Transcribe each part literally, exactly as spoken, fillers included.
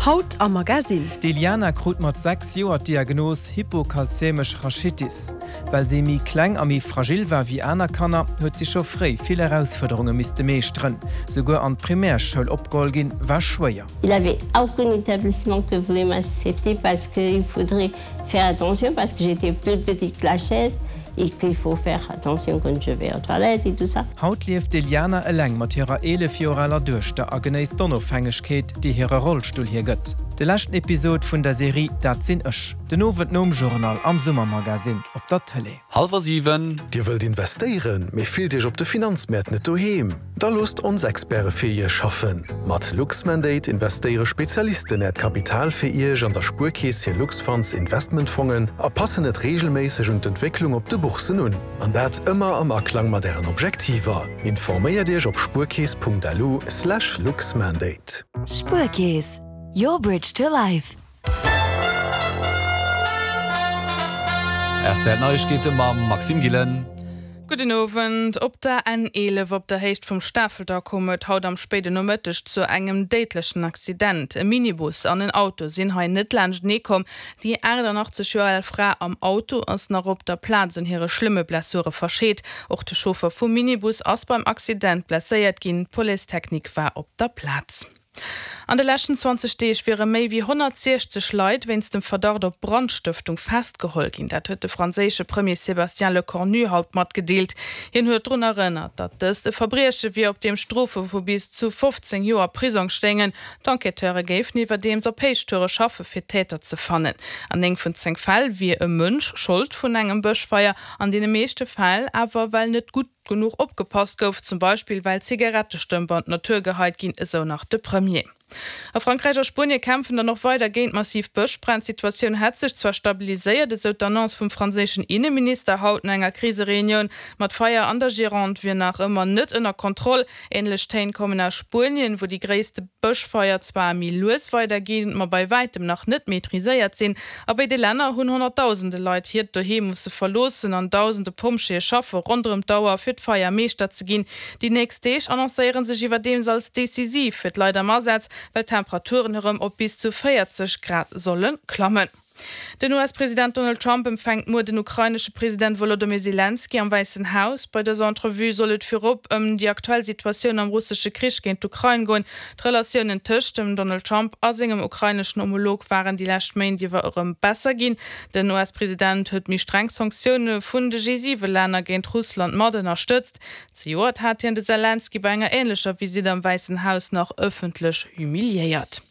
Haut am Magasinn. D'Eliana krut mat sechs Joer d'Diagnos hypokalzemesch Rachitis. Well si méi kleng a méi fragil war wéi aner Kanner, huet si scho fréi vill Erausfuerderunge misste meeschteren. Souguer an d'Primärschoul opgeholl ginn, war schwéier. Il avait aucun établissement que voulait m'accepter parce qu'il faudrait faire attention parce que j'étais plus petite que la chaise et qu'il faut faire attention quand je vais aux toilettes et tout ça. Haut lieft d'Eliana eleng mat hirer eelef Joer aler Duechter a genéisst d'Onofhängegkeet, déi hire Rollstull hir gëtt. De leschten Episod vun der Serie Dat sinn ech, den Owend nom Journal am Summermagasinn op der Tëlee. Hallwer siwen. Dir wëllt investéieren, mee fillt Iech op de Finanzmäert net doheem? Da loosst ons Experte fir Iech schaffen. Mat Luxmandate investéiere Spezialisten Äert Kapital fir Iech an der Spuerkeess hir Luxfunds Investmentfongen a passen et reegelméisseg un d'Entwécklung op de Bourssen un. An dat ëmmer am Aklang mat Ären Objektiver. Informéiert Iech op spuerkeess punkt lu slash luxmandate. Spuerkeess, your bridge to life. R T L Neiegkeete mam Maxime Gillen. Gudden Owend. Op der N eelef op der Héicht vum Stafelter koum et haut am spéiden Nomëtteg zu engem déidlechen Accident. E Minibus an en Auto sinn hei net laanschtenee komm. Déi achtannachtzeg Joer al Fra am Auto ass nach op der Plaz un hire schlëmme Blessure verscheet. Och de Chauffer vum Minibus ass beim Accident blesséiert ginn. D'Police technique war op der Plaz. An de leschten zwanzeg Deeg wiere méi wéi honnertsiechzeg Leit wéinst dem Verdacht op Brandstëftung festgeholl ginn. Dat huet de franséische Premier Sébastien Lecornu haut matgedeelt. Hien huet drun erënnert, datt dëst e Verbrieche wier, op deem Strofe vu bis zu fofzéng Joer Prisong stéingen. D'Enquêteure géifen iwwerdeems op Héichtoure schaffe fir d'Täter ze fannen. An néng vun zéng Fäll wier e Mënsch Schold vun engem Bëschfeier, an deene meeschte Fäll awer well net gutt genuch opgepasst gouf, zum Beispill well Zigarettestëmp an d'Natur geheit ginn, esou nach de Premier. A Frankräich a Spuenie kämpfen dann och weider géint massiv Bëschbränn. D'Situatioun hätt sech zwar stabiliséiert, esou d'Annonce vum franséischen Inneminister haut no enger Krisereunioun, ma d'Feier an der Gironde wier nach ëmmer net ënner Kontroll. Änlech Téin kommen aus Spuenien, wou déi gréisste Bëschfeier zwar méi lues weiderginn, ma bei wäitem nach net maîtriséiert sinn. A béide Länner hunn honnertdausende Leit hiert Doheem musse verloossen an dausende Pompjeeë schaffe ronderëm d'Auer, fir d'Feier Meeschter ze ginn. Déi nächst Deeg annoncéiere sech iwwerdeems als decisiv fir d'Leit am Asaz, well d'Temperaturen erëm op bis zu véierzeg Grad solle klammen. Den U S-President Donald Trump empfänkt muer den ukrainesche President Wolodymyr Selenskyj am Wäissen Haus. Bei dëser Entrevue soll et virop ëm déi aktuell Situatioun am russesche Krich géint d'Ukrain goen. D'Relatiounen tëscht dem Donald Trump a sengem ukraineschen Homolog waren déi lescht Méint iwwer erëm besser ginn. Den U S-President huet méi streng Sanktioune vun de G siwe Länner géint Russland mat ënnerstëtzt. Zejoert hat hien de Selenskyj bei enger änlecher Visitt am Wäissen Haus nach ëffentlech humiliéiert.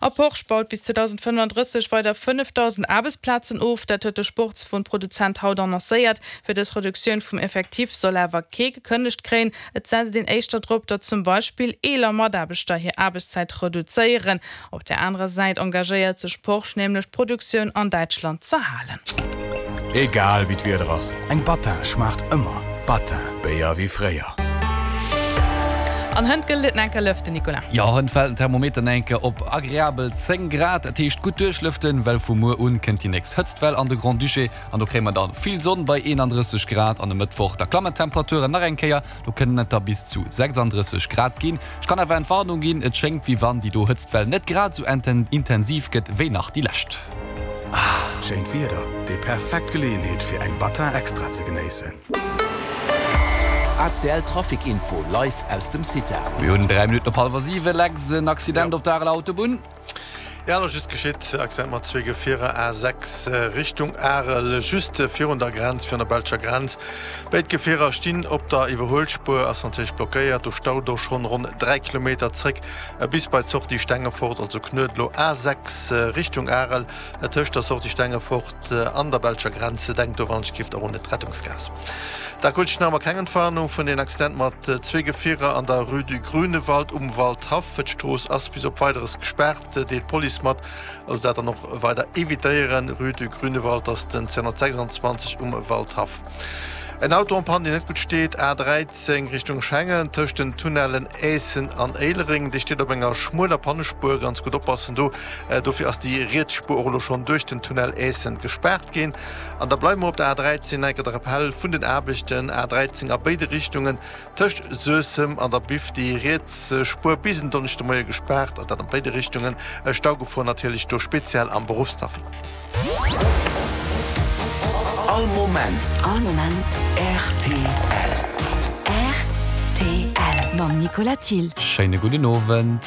A Porsche baut bis zweedausendfënnefandrësseg weider fënnefdausend Aarbechtsplazen of, dat huet de Sportswon-Produzent haut annoncéiert. Fir dës Reduktioun vum Effectif soll awer kee gekënnegt kréien. Et setzt een éischter drop, datt zum Beispill eeler Mataarbechter hir Aarbechtszäit reduzéieren. Op der anerer Säit engagéiert sech Porsche nämlech d'Produktioun an Däitschland z'erhalen. Egal wéi d'Wieder ass, eng Battin schmaacht ëmmer. Battin, Béier wéi fréier. An hënt gëllt et enker lëften, Nicolas. Jo, hënt fält den Thermometer enker op agreabel zéng Grad. Dat heescht gutt duerchlëften, well vu muer un kënnt déi nächst Hëtztwell an de Grand-Duché an do kréie mer dann vill Sonn bei eenandrësseg Grad. An e Mëttwoch da klammen d'Temperaturen nach eng Kéier, do kënnen et da bis zu sechsandrësseg Grad ginn. Ech kann awer Entwarnung ginn, et schéngt wéi wann déi do Hëtztwell net grad esou intensiv gëtt wéi nach déi lescht. Schéint Wieder, déi perfekt Geleeënheet fir eng Battin Extra ze genéissen. A C L Trafic Info live aus dem CITA. Mir hunn dräi Minutten op hallwer siwen. Lex, en Accident op der Areler Autobunn. Ja, elo just geschitt, Accident mat zwee Gefierer, A sechs Richtung Arel, just virun der Grenz, virun der belscher Grenz. Béid Gefierer stinn op der Iwwerhuelspuer, ass natierlech blockéiert. Do staut och schonn ronn dräi Kilometer zréck bis bei d'Sortie Stengefort, also Knuedlo, A sechs Richtung Arel, tëscht der Sortie Stengefort an der belscher Grenz. Denkt do wann ech giff och un d'Rettungsgaass. Da krut ech nach emmer keng Entwarnung vun den Accident mat zwee Gefierer an der Rue du Grünewald um Waldhaff. D'Strooss ass bis op Weideres gespaart, deelt d'Police mat. Also dat dann och weider evitéieren. Rue du Grünewald ass den zweehonnertsechsanzwanzeg um Waldhaff. En Auto en panne, deen net gutt steet, A dräizéng Richtung Schengen, tëscht den Tunnellen Aessen an Éilereng. Dee steet op enger schmueler Pannespuer, ganz gutt oppassen do. Dofir ass déi riets Spuer och elo schonn duerch den Tunnel Aessen gespaart ginn. An da bleiwe mer op der A dräizéng, enker de Rappell vun den Aarbechten, A dräizéng a béide Richtungen tëscht Suessem an der Biff, déi riets Spuer bis en Donneschdemoie gespaart, an dat an béide Richtungen. Staugefor natierlech do speziell am Beruffstrafic. All Moment. All Moment. Rtl. Rtl. Mam Nicolas Thill. Schéine gudden Owend.